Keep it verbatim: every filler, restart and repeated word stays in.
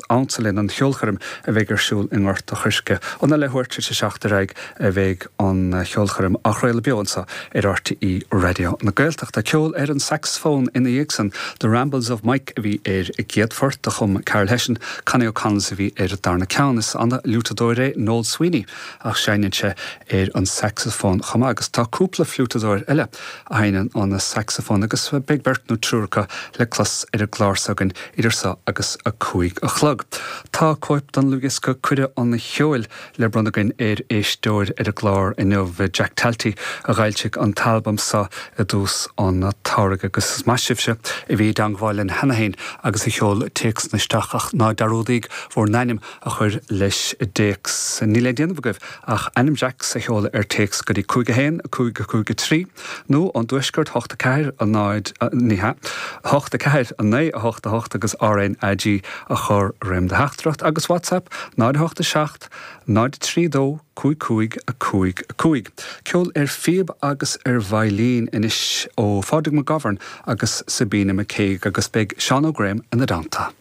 ansa linn an cheolchoirm a bheidh ar siúl i nGort an Choirce. Óna leathuair tar éis a seacht ar aghaidh a bheidh an cheolchoirm á chraoladh beo anseo ar R T É Raidió na Gaeltachta. Ceol ar an saxophone ina dhiaidh san, The Rambles of Mike a bhí ar an gcéad phort a chum Carol Hession, Connie O'Connell a bhí ar darna ceann. Is an-fhliútadóir é Noel Sweeney ach seinneann sé ar an saxophone chomh maith agus tá cúpla fliútadóir eile a sheinneann an saxophone agus beidh beirt nó triúr acu le clos ar an gclár s'againn idir seo agus a cúig a chlog. Tá cóip den dlúthdhiosca Cuireadh an Cheoil le bronnadh againn ar éisteoir ar an gclár inniu. Jack Talty a d'fhoilsigh an t-albam seo i dtús an tsamhraidh agus is maith sibhse a bhí i dteagmháil linn cheana féin agus a sheol téacs isteach ach ná dearúdaigí bhur n-ainm a chur leis an dtéacs. Níl le déanamh agaibh ach ainm Jack a sheoladh ar téacs go dtí cúig a haon cúig a cúig a trí nó ón dtuaisceart hocht a ceathair a náid ní hea hocht a ceathair a naoi a hocht a hocht agus R N A G a chur roimh do theachtaireacht agus WhatsApp náid hocht a seacht náid trí dó cúig cúig a cúig a cúig. Ceol ar phíob agus ar veidhlín anois ó Phádraig McGovern agus Sabina McCaig agus beidh Seán Ó Graham ina dteannta.